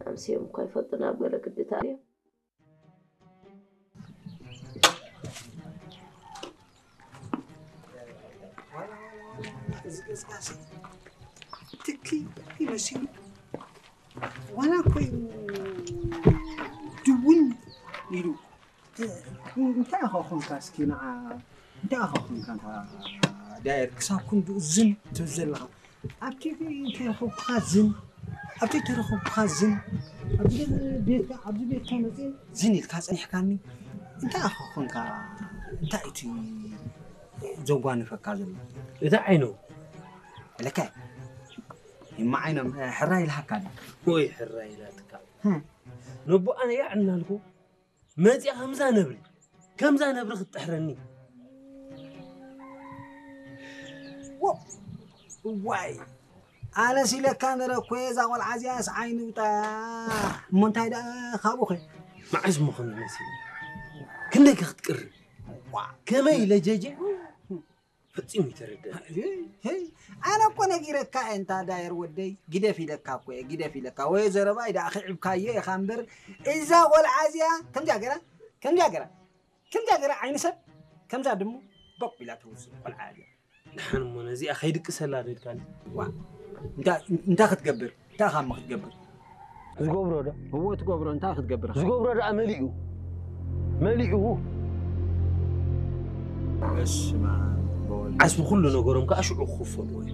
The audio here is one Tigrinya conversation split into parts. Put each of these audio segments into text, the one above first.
ኣምስዮም እኳ ይፈልጡና ኣብ ገለ ግድታት እዮም። እዚ ገዛሲ ትኪ ይመስል ዋላ ኮይኑ ድውን ኢሉ እንታይ ኢኻ ኮንካ እስኪ ንዓ እንታይ ኢኻ ኮንካ ዳየር ክሳብ ክንድኡ ዝን ትብል ዘለኻ ኣብቲ ተረኸብኩኻ ዝን ኣብቲ ተረኸብኩኻ ዝን ኣብዚ ቤትካ ኣብዚ ቤትካ መፅእ ዝን ኢልካ ፀኒሕካኒ እንታይ ኢኻ ኮንካ እንታይ እቲ ዘጓንፈካ ዘሎ እቲ ዓይኑ ለካ ይማ ዓይኖም ሕራ ኢልሃካ ድዩ ወይ ሕራ ኢላትካ ነቦ ኣነ ያዕ እናልኩ መፂኣ ከምዛ ነብሪ ከምዛ ነብሪ ክትጥሕረኒ ዋይ ኣነስ ኢለካ ነረ እኮ እዛ ቆልዓ እዚኣስ ዓይኒ ውጣ እሞ እንታይ ደኣ ካብኡ ኸ መዓስ ምኾን ይመስል ክንደይ ከ ክትቅሪ ከመይ ኢለ ጀጀ ፈጺሙ ይተረደ ኣነ እኮ ነጊረካ እየ እንታ ዳየር ወደይ ግደፍ ኢለካ እኮ እየ ግደፍ ኢለካ ወይ ዘረባይ ደኣ ክዕብካዮ ኢኻ እምበር እዛ ቆልዓ እዚኣ ከምዚኣ ገራ ከምዚኣ ገራ ከምዚኣ ገራ ዓይኒ ሰብ ከምዛ ድሙ ቦቅ ኢላ ትውስድ ቆልዓ እያ ደሓን እሞ ነዚኣ ከይድቅሰላ ዶ ኢልካኒ እንታይ ክትገብር እንታይ ካሞ ክትገብር ዝገብሮ ዶ እዎ ትገብሮ እንታይ ክትገብር ዝገብሮ ደኣ መሊኡ መሊኡ በስመ ኣብ ወወልድ ዓስቢ ኩሉ ነገሮም ከዓ ሽዑ ክኽፈሉ ወይ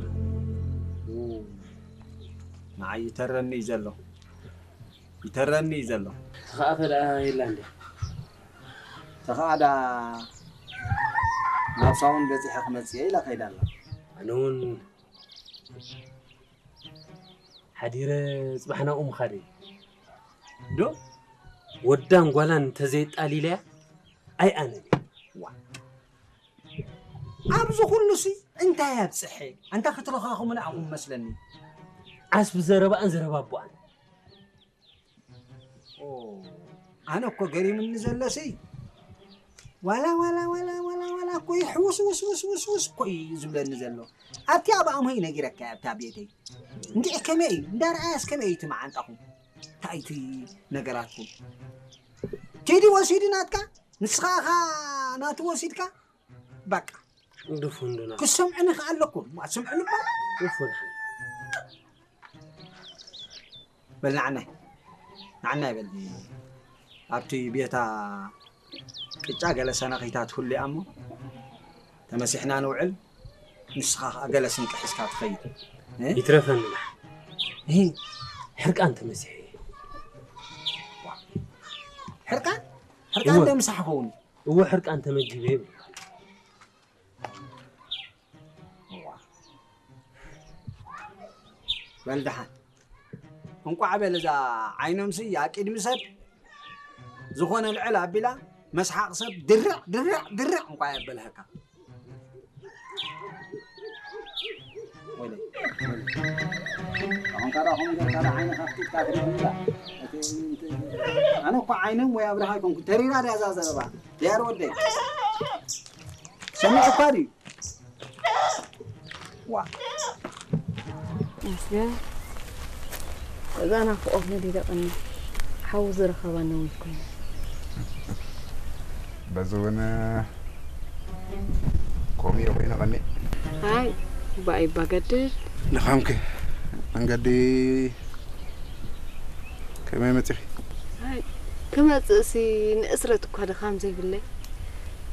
ንዓይ ይተረኒ እዩ ዘሎ ይተረኒ እዩ ዘሎ ተኸኣኸ ደኣ የላ እንዲ ተኸኣ ደኣ ናብ ሳውን በፂሐ ክመፅእ እየ ኢላ ከይዳ ኣላ ኣነ እውን ሓዲረ ፅባሕ ናብኡ ምኻድ እዩ ዶ ወዳን ጓላን እንተዘየጣሊለያ ኣይኣነን እየ ዋ ኣብዚ ኩሉ ሲ እንታይ ኣብፅሐ ኣንታ ክትረኻኽሙና ኣኹም መስለኒ ዓስቢ ዘረባኣን ዘረባ ኣቦኣን ኣነ እኮ ገሪምኒ ዘሎ ሲ ዋላ ዋላ ዋላ ዋላ ዋላ እኮ ይሕውስ ውስ ውስ ውስ ውስ እኮ እዩ ዝብለኒ ዘሎ ኣብቲ ኣብ ኣምሆይ ነጊረካ ኣብታ ቤተይ እንዲዕ ከመይ እዩ እንዳረኣያስ ከመይ እዩ እቲ መዓንጣኹም እንታይ እቲ ነገራትኩም ቴዲ ወሲዱ ናትካ ንስኻ ኢኻ ናቱ ወሲድካ በቃ ድፉን ዶ ክሰምዕኒ ከኣ ኣለኩም ኣትሰምዕኒ እባ ድፉን በል ንዓናይ ንዓናይ በል ኣብቲ ቤታ ቅጫ ገለ ሰነኺታት ህሉ እያ እሞ ተመሲሕና ንውዕል ንስኻ ከኣ ገለ ስንቂ ሒዝካ ትኸይድ ይትረፈኒ ሕርቃን ተመሲሐ ሕርቃን ሕርቃን ዶ ምሳሕ ኸውን እዎ ሕርቃን ተመጊበ ይብል በል ደሓን እንቋዕ በል እዛ ዓይኖምሲ ኣብ ቅድሚ ሰብ ዝኾነ ልዕል ኣቢላ መስሓቕ ሰብ ድርዕ ድርዕ ድርዕ እንቋ የበልሀካ ኣነ እኳ ዓይኖም ወይ ኣብርሃ ይኮንኩ ተሪራ ድያ እዛ ዘረባ ድያር ወደይ ሰሚዑ እኳ ድዩ ዋ መስገን እዛ ናፍቆት ነዲደ ቀኒ ሓው ዝረኸባ ነዊት ኮይኑ በዚ እውን ከምኡ እየ ኮይኑ ቀኒ ኣይ ባይ ባገድድ ንኻምክ መንገዲ ከመይ መፂኺ ክመፅእሲ ንእስረት እኳ ድኻም ዘይብለይ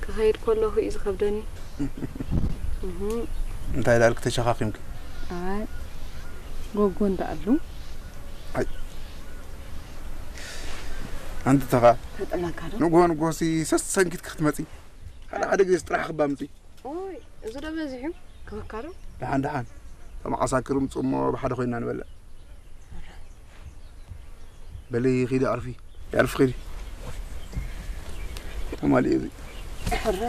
ክኸይድ ከለኹ እዩ ዝኸብደኒ እንታይ ዳልክ ተሸኻኺምኪ ኣይ ጎጎ እንዳኣሉ ኣንቲ ተኻ ተጠላካ ዶ ንጎ ንጎሲ ሰሰንኪት ክትመፂ ሓደ ሓደ ግዜ ጥራሕ ክባምፂ ኦይ እዚ ዶ በዚሑ ክበካ ዶ ደሓን ደሓን ተመዓሳክር ምፁ እሞ ብሓደ ኮይና ንበልዕ በሊ ኺዲ ኣርፊ ያርፍ ኺዲ ተማሊኡ እዚ ሕረ